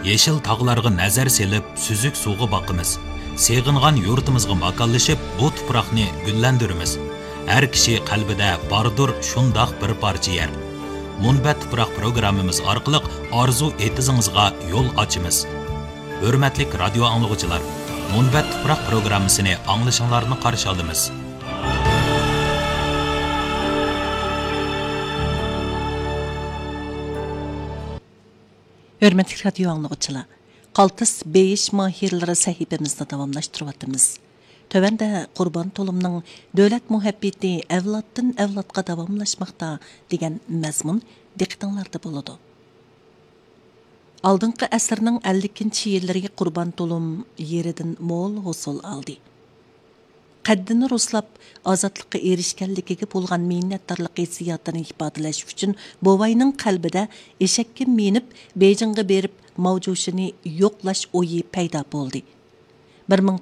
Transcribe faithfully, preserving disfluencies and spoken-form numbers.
يېشىل تاغلارغا نەزەر سېلىپ، سۈزۈك سۇغا باقىمىز. سېغىنغان يۇرتىمىزغا ماكانلىشىپ، بۇ تۇپراقنى گۈللەندۈرىمىز. ھەر كىشى قەلبىدە باردۇر شۇنداق بىر پارچە يەر. مۇنبەت تۇپراق پروگراممىمىز ئارقىلىق ئارزۇ ئېتىزىڭىزغا يول ئاچىمىز. ھۆرمەتلىك رادىيو ئاڭلىغۇچىلار، مۇنبەت تۇپراق پروگراممىسىنى ئاڭلىشىڭلارنى قارشى ئالىمىز. ھۆرمەتلىك رادىيو ئاڭلىغۇچىلار، قالتىس بېيىش ماھىرلىرى سەھىپىمىزنى داۋاملاشتۇرۇۋاتىمىز. تۆۋەندە قۇربان تۇلۇمنىڭ دۆلەت مۇھەببىتى ئەۋلادتىن ئەۋلادقا داۋاملاشماقتا دېگەن مەزمۇن دىققىتىڭلاردا بولىدۇ. ئالدىنقى ئەسىرنىڭ ئەللىكىنچى يىللىرى قۇربان تۇلۇم يېرىدىن مول ھوسۇل ئالدى. قەددىنى رۇسلاپ، ئازادلىققا ئېرىشكەنلىكىگە بولغان مىننەتدارلىق ھېسسىياتىنى ئىپادىلەش ئۈچۈن، بوۋاينىڭ قەلبىدە ئېشەككە مىنىپ، بېيجىڭغا بېرىپ، ماۋجۇشىنى يوقلاش ئويى پەيدا بولدى. بىر مىڭ